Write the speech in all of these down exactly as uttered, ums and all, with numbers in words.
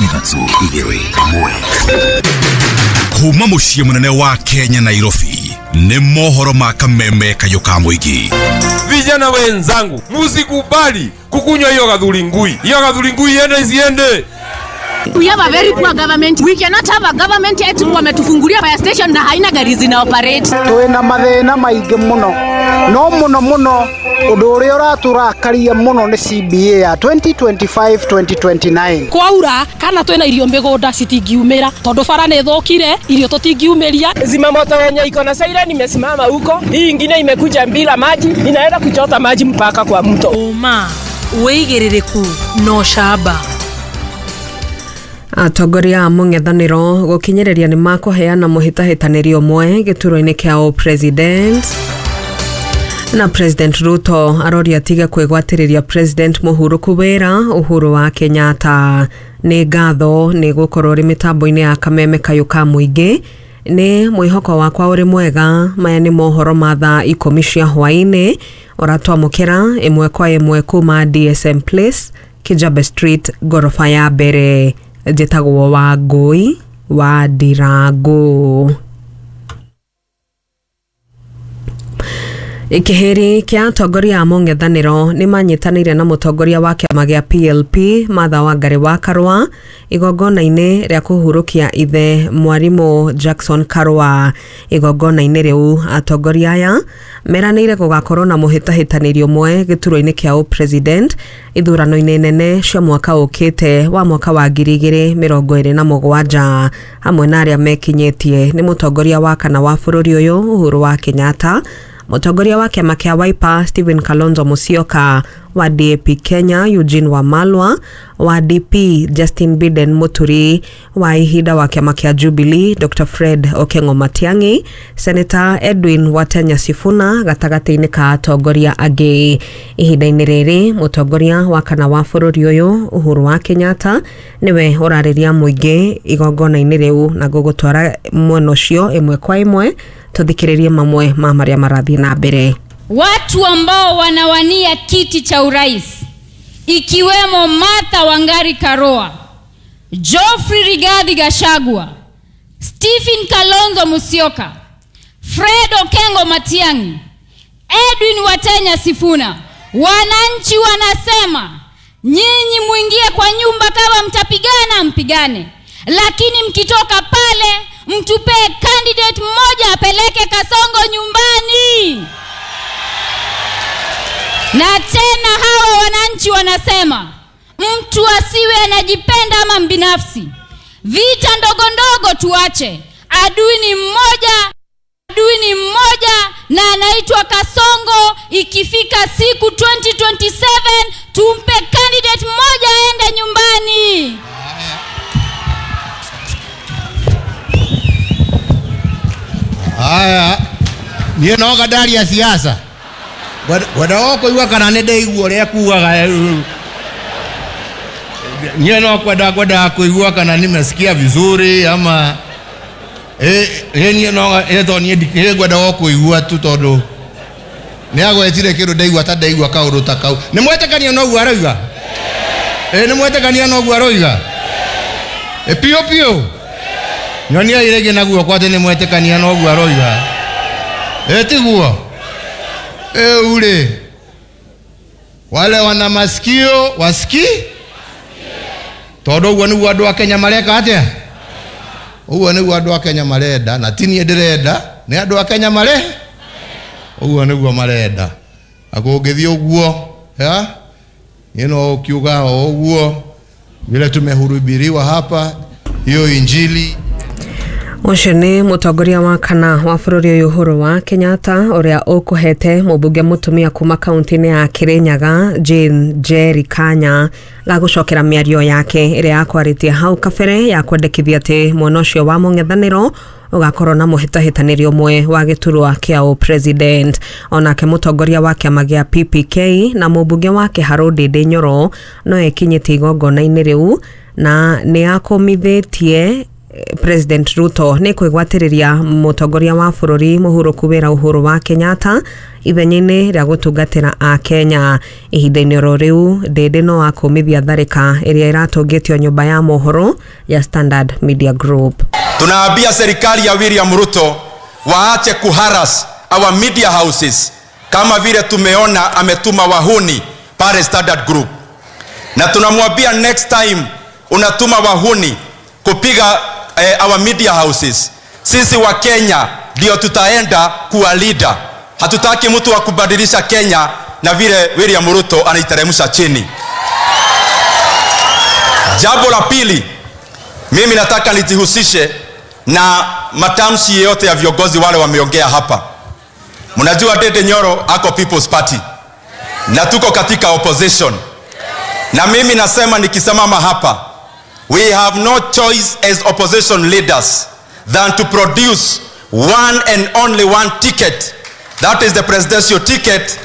Ithatũ, igĩrĩ, ĩmwe. Kuma mũciĩ mũnene wa Kenya, Nairobi, nĩ mohoro ma kameme kayũ ka mũingĩ. Vijana wenzangu, musikubali kukunywa hiyo gathuri ngui. Hiyo gathuri ngui iende isiende? We have a very poor government. We cannot have a government eti wametufungulia fire station na haina gari zina operate. Twina mathĩna maingĩ mũno, no mũno mũno ũndũ ũrĩa ũratũrakaria mũno nĩ C B A ya twenty twenty-five twenty twenty-nine. Kwaura kana twina irio mĩgũnda citingiumĩra tondũ bara nĩ thũkire, irio tũtingiumĩria. Zimamoto yenye iko na siren imesimama huko, hii ingine imekuja bila maji, inaenda kuchota maji mpaka kwa mto. Ũma, wĩigĩrĩrĩku na ũcamba. Atongoria a mũng'ethanĩro gũkinyĩrĩria nĩ makũheana mũhĩtahĩtanĩri ũmwe gĩturwa-inĩ kĩa president, na President Ruto aroria atige kwĩgwatĩrĩria President mũhurũku wĩra Uhuru wa Kenyatta. Nĩ ngatho nĩ gũkorwo ũrĩ mĩtambo-inĩ ya kameme kayũ ka mũingĩ. Nĩ mwĩhoko wakwa ũrĩ mwega. Maya nĩ mohoro ma thaa ikũmi cia hwaĩ-inĩ, ũratwamũkĩra ĩmwe kwa ĩmwe kuma D S M Place, Kijabe Street, ngoroba ya mbere. Njĩtagwo Wangũi wa Ndirangũ. Kĩhĩri kĩa atongoria a mũng'ethanĩro nĩ manyitanĩire na mũtongoria wa kĩama gĩa P L P Martha Wangari wa Karũa igongona-inĩ rĩa kũhurũkia ithe mwarimũ Jackson Karũa. Igongona-inĩ rĩu atongoria aya meranĩire gũgakorwo na mũhĩtahĩtanĩri ũmwe gĩturwa-inĩ kĩa ũpresident ithurano-inĩ nene cia mwaka ũkĩte wa mwaka wa ngiri igĩrĩ mĩrongo ĩrĩ na mũgwanja. Hamwe na arĩa mekinyĩtie nĩ mũtongoria wa kana wa bũrũri ũyũ Uhuru wa Kenyatta, mũtongoria wa kĩama kĩa Wiper Stephen Kalonzo Musyoka, wa D A P Kenya Eugene Wamalwa, wa D P Justin Biden Muturi, wa ihinda wa kĩama kĩa Jubilee Doctor Fred Okengo Matiang'i, Senator Edwin Watenya Sifuna gatagatĩ-inĩ ka atongoria angĩ. Ihinda-inĩ rĩrĩ mũtongoria wa kana wa bũrũri ũyũ Uhuru wa Kenyatta nĩwe ũrarĩria mũingĩ igongona-inĩ rĩu, na ngũgũtwara mwena ũcio ĩmwe kwa ĩmwe tũthikĩrĩrie mamwe ma marĩa marathiĩ na mbere. Watu ambao wanawania kiti cha urais, ikiwemo Martha Wangari Karua, Geoffrey Rigathi Gachagua, Stephen Kalonzo Musyoka, Fred Okengo Matiang'i, Edwin Watenya Sifuna. Wananchi wanasema nyinyi muingie kwa nyumba, kama mtapigana mpigane, lakini mkitoka pale mtupee candidate mmoja apeleke Kasongo nyumbani. Na tena hawa wananchi wanasema mtu asiwe anajipenda ama mbinafsi. Vita ndogo ndogo tuache. Adui ni mmoja, adui ni mmoja na anaitwa Kasongo. Ikifika siku twenty twenty-seven tumpe candidate mmoja aende nyumbani. Haya, niĩ no ngandaria siasa ngwenda kũigua kana nĩ ndaigua ũrĩa kugaga. Niĩ no kwenda kwendaga kũigua kana nimesikia vizuri ama ĩ ĩ niĩ no ĩ to niĩ niĩ ngwendaga kũigua tu tondũ nĩ agwetire kĩndũ ndaigua ta ndaigua kaũndũ ta kau. Nĩ mwetĩkania noguo aroiga? Ĩ, nĩ mwetĩkania noguo aroiga? Ĩ, piũ piũ, nyonia rĩngĩ na guoko atĩ nĩ mwetĩkania noguo aroiga. Ĩ, tiguo? Ĩu rĩ, wale wana masikio wasiki, tondũ ũguo nĩguo andũ a Kenya mareka atĩa, ũguo nĩguo andũ a Kenya marenda, na ti niĩ ndĩrenda, nĩ andũ a Kenya mare ũguo nĩguo marenda. Na kũngĩthiĩ ũguo ya niĩ no ũkiuga o ũguo vile tumehubiriwa hapa hiyo injili. Ũcio nĩ mũtongoria wa kana wa bũrũri ũyũ Uhuru wa Kenyatta, ũrĩa ũkũhete mũmbunge mũtumia kuma kaunti-inĩ ya Kirinyaga Jane Njeri Kanya ga gũcokera mĩario yake ĩrĩa yakwarĩtie hau kabere ya kwendekithia atĩ mwena ũcio wa mũng'ethanĩro ũgakorwo na mũhĩtahĩtanĩri ũmwe wa gĩturwa kĩa ũpresident. Onake mũtongoria wa kĩama gĩa P P K na mũmbunge wa Kĩharũ Ndĩndĩ Nyoro no ekinyĩtie igongona-inĩ rĩu na nĩ akũmithĩtie President Ruto nĩ kwĩgwatĩrĩria mũtongoria wa bũrũri mũhurũku wĩra Uhuru wa Kenyatta ithenya-inĩ rĩa gũtungatĩra a Kenya. Ihinda-inĩ oro rĩu Ndĩndĩ no akũmithia tharĩka ĩrĩa ĩratũngĩtio nyũmba ya mohoro ya Standard Media Group. Tunaambia serikali ya William Ruto waache kuharass our media houses kama vile tumeona ametuma wahuni pale Standard Group, na tunamwambia next time unatuma wahuni kupiga eh, our media houses, sisi wa Kenya ndio tutaenda kuwa leader. Hatutaki mtu wa kubadilisha Kenya na vile William Ruto anaiteremsha chini. Jambo la pili, mimi nataka nijihusishe na matamshi yote ya viongozi wale wameongea hapa. Mnajua Ndindi Nyoro ako People's Party na tuko katika opposition, na mimi nasema nikisimama hapa, we have no choice as opposition leaders than to produce one and only one ticket, that is the presidential ticket,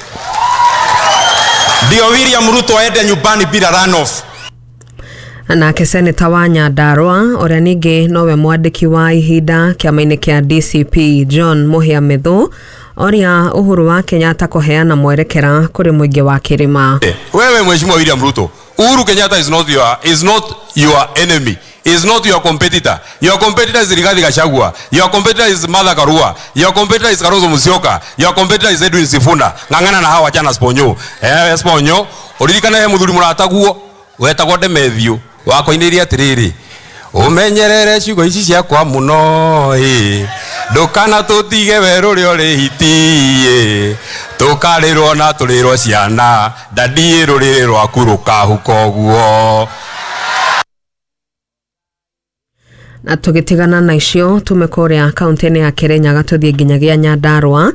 ndio William Ruto aende nyumbani bila runoff. Nake seneta wa Nyandarua ũrĩa ningĩ nowe mwandĩki wa ihinda kĩama-inĩ kĩa D C P John Muhia Methu oria Uhuru wa Kenyatta kũheana mwerekera kũrĩ mũingĩ wa kĩrĩma. Wewe Mheshimiwa William Ruto, Uhuru Kenyatta is not your, is not your enemy, is not your competitor. Your competitor is Rigathi Gachagua. Your competitor is Martha Karua. Your competitor is Kalonzo Musyoka. Your competitor is Edwin Sifuna. Ng'ang'ana na hawa chana sponyo. Eh, sponyo. Uririkana he muthuri murataguo wetagwo Demethiu wakoinĩrie atĩrĩrĩ, ũmenyerere ciugo ici ciakwa mũno ĩ, ndũkana tũtige werũ ũrĩa ũrĩ hiti ĩ, tũkarĩrwo na tũrĩrwo ciana, ndadiĩ rũrĩrĩ rwaku rũkahuka ũguo. Na tũgĩtigana na icio tume kũrĩa kaunti-inĩ ya Kirinyaga tũthiĩ nginyagia Nyandarua,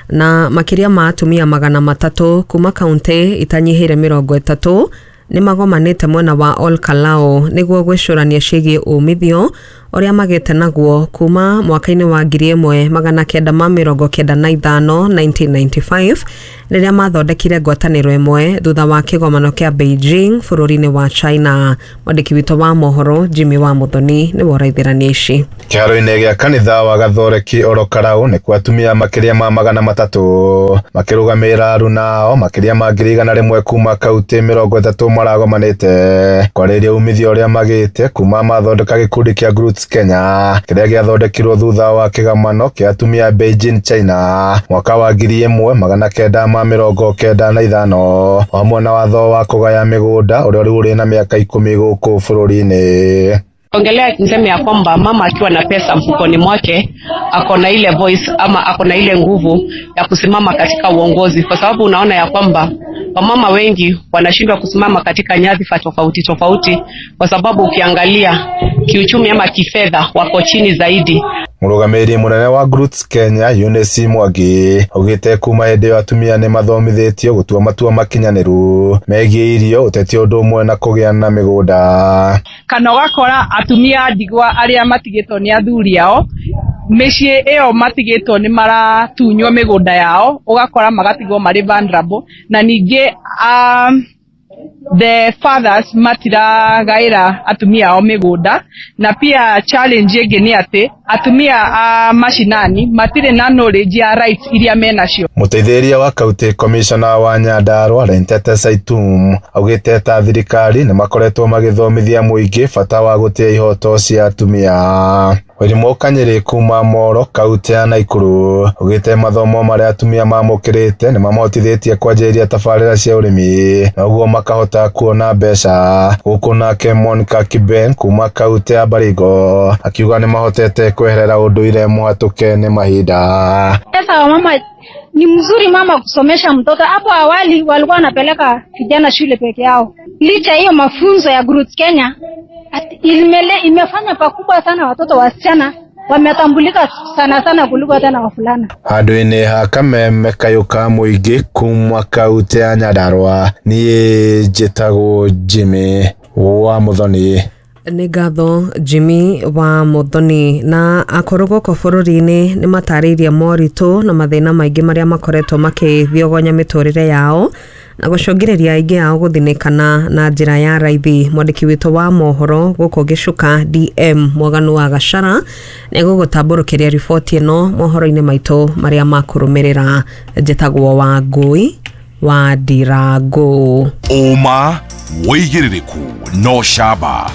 na makĩria ma atumia magana matatũ kuma kaunti itanyihĩire mĩrongo ĩtatũ nĩ magomanĩte mwena wa Ol Kalou nĩguo gwĩcũrania ciĩgiĩ umithio ũrĩa magĩte naguo kuma mwaka-inĩ wa ngiri ĩmwe magana kenda ma mĩrongo kenda na ithano nineteen ninety-five rĩrĩa mathondekire ngwatanĩro ĩmwe thutha wa kĩgomano kĩa Beijing bũrũri-inĩ wa China. Mwandĩki witũ wa mohoro Jimmy wa Muthoni nĩwe ũraithĩrania ici. Kĩharo-inĩ gĩa kanitha wa Gathoreki Ol Kalou nĩ kwa atumia makĩria ma magana matatũ makĩrũgamĩrĩra aruna ao makĩria ma ngiri igana rĩmwe kuma kaunti mĩrongo ĩtatũ maragomanĩte kwarĩria umithio ũrĩa magĩte kuma mathondeka gĩkundi kĩa Groots Kenya kĩrĩa gĩathondekirwo thutha wa kĩgomano kĩa atumia Beijing China mwaka wa ngiri ĩmwe magana kenda ma mĩrongo kenda na ithano hamwe na watho wa kũgaya mĩgũnda ũrĩa rĩu ũrĩ na mĩaka ikũmi gũkũ bũrũri-inĩ. Ongelea niseme ya kwamba mama akiwa na pesa mfukoni mwake ako na ile voice ama ako na ile nguvu ya kusimama katika uongozi, kwa sababu unaona ya kwamba wamama wengi wanashindwa kusimama katika nyadhifa tofauti tofauti kwa sababu ukiangalia kiuchumi ama kifedha wako chini zaidi. Mũrũgamĩrĩri mũnene wa Groots Kenya Eunice Mwangi augĩte kuma hĩndĩ ĩyo atumia nĩ mathomithĩtio gũtua matua makinyanĩru megiĩ irio, ũteti ũndũ ũmwe na kũgĩa na mĩgũnda. Kana ũgakora atumia ndigwa arĩa matigĩtwo nĩ athuri ao mĩciĩ ĩyo matigĩtwo nĩ maratunywo mĩgũnda yao, ũgakora magatigwo marĩ vulnerable, na ningĩ um, the fathers matiragaĩra atumia ao mĩgũnda. Na pia challenge ĩngĩ nĩ atĩ atumia a mashinani matirĩ na knowledge ya rights iria menacio. Mũteithĩrĩria wa county commissioner wa Nyandarua Lentete Saitum augĩte ta thirikari nĩ makoretwo magĩthomithia mũingĩ bata wa gũtĩa ihoto cia atumia. Wairimu Kanyiri kuma Moro kaunti ya Nakuru augĩte mathomo marĩa atumia mamũkĩrĩte nĩ mamahotithĩtie kwanjĩrĩria tabarĩra cia ũrĩmi na ũguo makahota kuona mbeca. Gũkũ nake Monica Kiben kuma kaunti ya Baringo akiuga nĩ mahotete kweherera ũndũire mũhatũke nĩ mahinda. Sasa mama ni mzuri mama kusomesha mtoto. Hapo awali walikuwa wanapeleka vijana shule peke yao. Licha hiyo mafunzo ya Groots Kenya imele, imefanya pakubwa sana watoto wasichana wametambulika sana sana kuliko tena wavulana. Handũ-inĩ ha kameme kayũ ka mũingĩ kuma kaunti ya Nyandarua, niĩ njĩtagwo Jimmy wa Muthoni. Nĩ ngatho Jimmy wa Muthoni. Na akũrũ gũkũ bũrũri-inĩ nĩ matarĩirie moritũ na mathĩna maingĩ marĩa makoretwo makĩthiogonya mĩtũrĩre yao na gũcũngĩrĩria aingĩ ao gũthinĩkana na njĩra ya raithi. Mwandĩki witũ wa mohoro gũkũ Gĩcuka D M Mwaganu wa Gachara nĩegũgũtambũrũkĩria riboti ĩno mohoro-inĩ maitũ marĩa makũrũmĩrĩra. Njĩtagwo Wangũi wa Ndirango. Ũma wĩigĩrĩrĩku no camba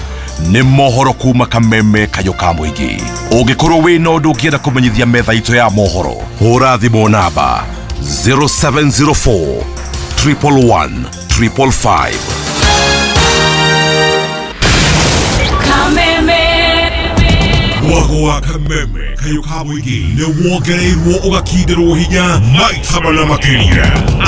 nĩ mohoro kuma Kameme Kayũ ka mũingĩ. Ũngĩkorwo wĩna ũndũ ũngĩenda kũmenyithia metha itũ ya mohoro, hũra thimũ namba zero seven zero four triple one triple five. Kameme Mwago wa Kameme Kayũ ka mũingĩ nĩ wongereirwo ũgakindĩrwo hinya maita mana makĩria.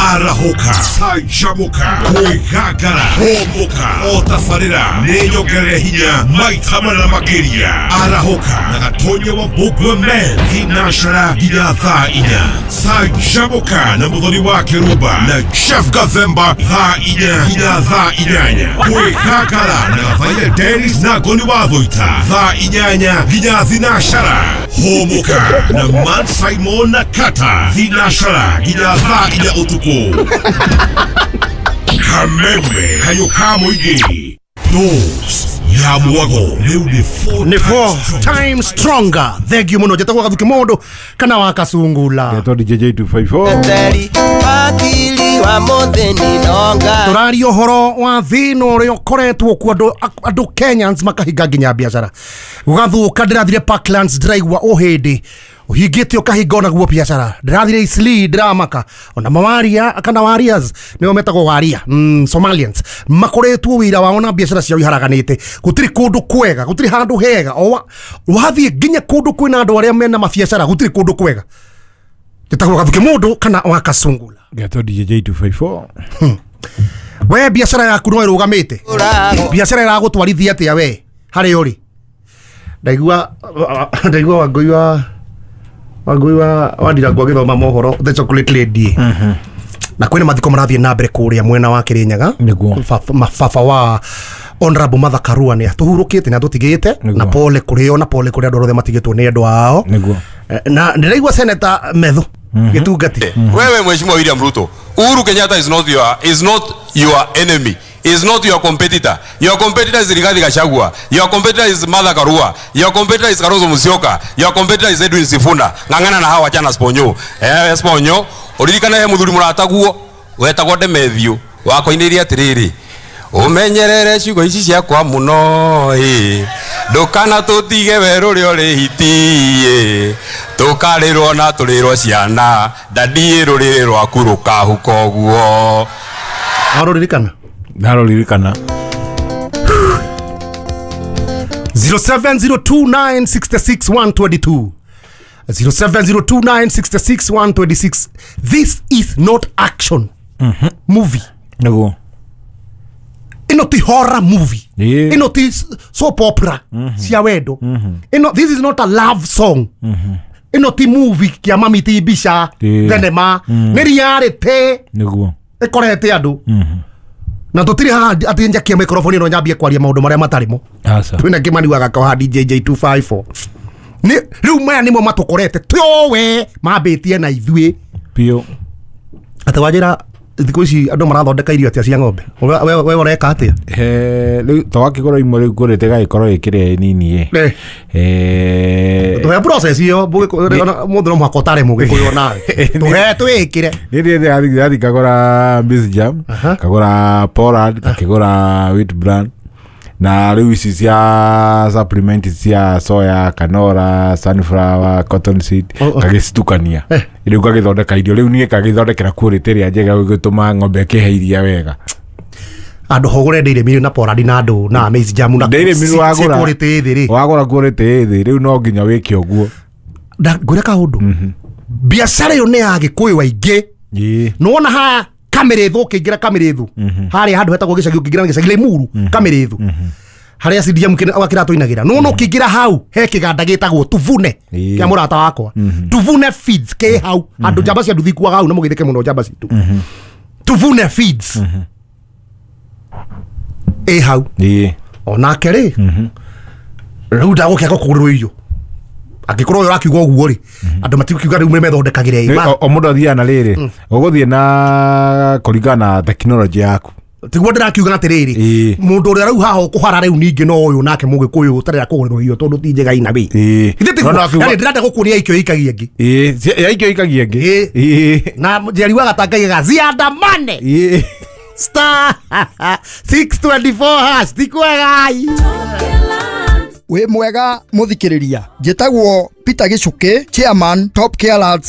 Arahũka, canjamũka, kwĩgangara, hũmũka, otabarĩra nĩ nyongerere hinya maita mana makĩria. Arahũka na Gatonya wa Mbũgua Men thinashara nginya thaa inya. Canjamũka na Mũthoni wa Kĩrumba na Jeff Gathemba thaa inya nginya thaa inyanya. Kwĩgangara na Gathaia Dennis na Ngoni wa Thũita thaa inyanya nginya thinashara. Hũmũka na Man Simon na Kata thinashara nginya thaa inya ũtukũ. Kameme Kayũ ka mũingĩ. Dose ya mwago rĩu nĩ four Nĩ four times stronger. Thank you mũno. Njĩtagwo Gathuki Mũndũ kana wa Kasungula. Ngetwo D J J two five four. Tũraria ũhoro wa thĩna ũrĩa ũkoretwo kuo andũ andũ Kenyans makahinga nginya biacara gũgathũka. Ndĩrathire Parklands ndĩraigua ũhĩndĩ ũhingĩte ũkahinga onaguo biacara. Ndĩrathire Eastleigh ndĩramaka ona mawaria kana warriors nĩo metagwo waria, mm, Somalians makoretwo wĩra wao na biacara ciao iharaganĩte. Gũtirĩ kũndũ kwega, gũtirĩ handũ hega. O wathiĩ nginya kũndũ kwĩna andũ arĩa mena mabiacara gũtirĩ kũndũ kwega. Njĩtagwo Gathuki Mũndũ kana wa Kasungula. Ngetwo D J J two five four. We biacara yaku no ĩrũgamĩte, biacara ĩragũtwarithia atĩa we harĩa ũrĩ? Ndaigua ndaigua Wangũi wa Wangũi wa wa Ndirango agĩthoma mohoro The Chocolate Lady. Na kwĩna mathiko marathiĩ na mbere kũrĩa mwena wa Kĩrĩnyaga. Baba wa Honorable Martha Karua nĩ atũhurũkĩte na atũtigĩte, na pole kũrĩ o na pole kũrĩ andũ othe matigĩtwo nĩ andũ ao. Na ndĩraigua Senator Methu Gĩtungati. Wewe Mheshimiwa William Ruto, Uhuru Kenyatta is not your is not your enemy, is not your competitor. Your competitor is Rigathi Gachagua. Your competitor is Martha Karua. Your competitor is Kalonzo Musyoka. Your competitor is Edwin Sifuna. Ng'ang'ana na hawa chana sponyo. Eh, sponyo. Uririkana he muthuri murataguo wetagwo Demethiu wakoinĩire atĩrĩrĩ, umenyerere ciugo ici ciakwa mũno ĩ, ndũkana tũtige werũ ũrĩa ũrĩ hiti ĩ, tũkarĩrwo na tũrĩrwo ciana ndadiĩ rũrĩrĩ rwaku rũkahuka ũguo. Arũririkana? Ndarũririkana. zero seven zero two nine six six one two two zero seven zero two nine six six one two six. This is not action mm-hmm. movie. Nĩguo. Ĩno ti horror movie. Yeah. Ĩno ti soap opera mm-hmm. cia wendo. Mm-hmm. Ĩno this is not a love song. Mm-hmm. Ĩno ti movie kia mami ti mbica yeah. thenema mm. nĩ reality nĩguo ĩkorete andũ. Mm-hmm. Na tũtirĩ haha atĩ njakie microphone ĩno nyambie kwaria maũndũ marĩa matarĩ mo. Aca. Twĩna Kĩmani wa Gakao haha D J J two five four. Nĩ rĩu maya nĩmo matũkorete tũwe mambĩtie na ithuĩ biũ. Atĩ wanjĩra thikũ ici andũ marathondeka irio atĩa cia ng'ombe? We we ũreka atĩa? Eh, rĩu twakĩgũra imwe rĩu ngũrĩte gagĩkorwo ĩkĩrĩa nini ĩ. Eh, tũhe process ĩyo mũndũ no mũhaka ũtare mũgĩkũyũ nawe. Tũhe twĩkĩre. Nĩ ndĩ ndathi ngagũra maize jam, ngagũra pollard, ngakĩgũra wheat bran. Na rĩu ici cia supplement cia soya, canola, sunflower, cotton seed ngagĩcitukania. Rĩu ngagĩthondeka irio rĩu niĩ ngagĩthondekera quality ĩrĩa njega gũgĩtũma ng'ombe ĩkĩhe iria wega. Andũ hũgũre dairy meal na pollard na andũ na maize jam na dairy meal wagũra quality thĩ rĩ. Wagũra quality thĩ rĩu no nginya wĩke ũguo. Ngwĩre kaũndũ. Biacara ĩyo nĩ ya Gĩkũyũ aingĩ. Nĩwona haha Kamĩrĩthũ ũkĩingĩra Kamĩrĩthũ harĩa handũ hetagwo gĩcagi ũkĩingĩra gĩcagi Limuru Kamĩrĩthũ harĩa C D M kĩratũinagĩra nĩwona ũkĩingĩra hau he kĩganda gĩtagwo Tuvune kĩa mũrata wakwa. Tuvune Feeds kĩ hau andũ njamba cia nduthi ikuaga hau na mũgeithĩke mũno njamba citũ. Tuvune Feeds ĩ hau onake rĩ rĩu ndagũkĩaga kũgũrĩrwo irio Angĩkorwo ũyũ ũrakiuga ũguo rĩ, andũ matikukiuga rĩu methondekagĩre Nĩ- o- o mũndũ athiaga na rĩrĩ, ũgũthiĩ na kũringana na tekinoronjĩ yaku. Tiguo ndĩrakiuga atĩrĩrĩ, mũndũ ũrĩa rĩu haha ũkũhara rĩu ningĩ no ũyũ nake mũgĩkũyũ ũtarĩa kũgũrĩrwo irio tondũ ti njega ina wĩ. Ithe tiguo? No, no, akiuga- Yani ndĩrenda gũkuonia ikio ikagia ĩngĩ. Ĩĩ, cia- ya ikio ikagia ĩngĩ. Ĩĩ. Na njeri wa gatangaigaga ziandamane star six twenty four hash ti kwega. Wĩ mwega mũthikĩrĩria, njĩtagwo Peter Gĩcukĩ, chairman Top Care Lads.